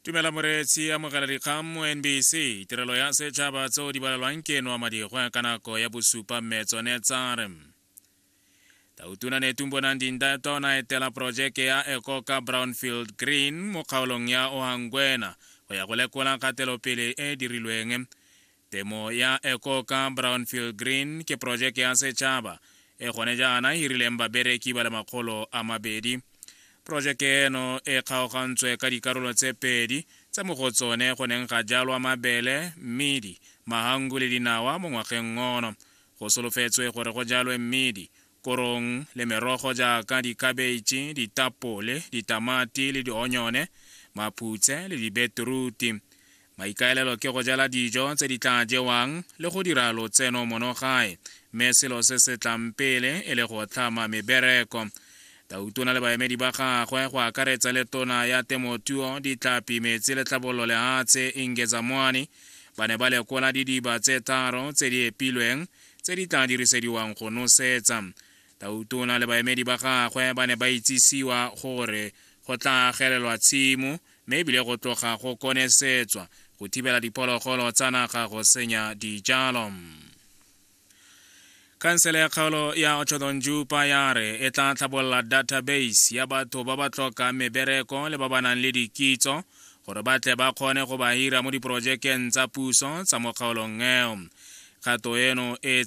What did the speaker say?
Tumela moreetsi, amogela dikgang mo NBC, tirelo ya setšhaba tseo di balelwang ke noa madigwe ka nako ya bosupa mme tsone tsa re Tautona Netumbo Nandi-Ndaitwah o ne a etela porojeke ya Ekoka Brownfield Green mo kgaolong ya Ohangwena go ya go lekola kgatelopele e e dirilweng. Temo ya Ekoka Brownfield Green ke porojeke ya setšhaba e gone jaana e hirileng babereki ba le 200. Porojeke eno e kgaogantswe ka dikarolo tse pedi, tse mo go tsone go neng ga jalwa mabele, mmidi, mahangu le dinawa mo ngwageng ono. Go solofetswe gore go jalwe mmidi, korong le merogo jaaka dikhabetšhe, ditapole, ditamati le dionyone, maphutse le dibeteruti. Maikaelelo ke go jala dijo tse di tla jewang le go dira lotseno mono gae, mme selo se se tlang pele e le go tlhama mebereko. Tautona le baemedi ba gagwe, go akaretsa le tona ya temothuo, ditlhapi, metsi le tlhabololo lehatshe, Inge Zamuani, ba ne ba lekola didiba tse tharo tse di epilweng tse di tla dirisediwang go nosetsa. Tautona le baemedi ba gagwe ba ne ba itsisiwa gore go tla agelelwa tshimo mme ebile go tloga go konesetswa go thibela diphologolo tsa naga go senya dijalo. Khansele ya kgaolo ya Otjozondjupa ya re e tla tlhabolola database ya batho ba ba tlhokang mebereko le ba ba nang le dikitso gore ba tle ba kgone go ba hira mo diporojekeng tsa puso tsa mo kgaolong eo. Kgato eno e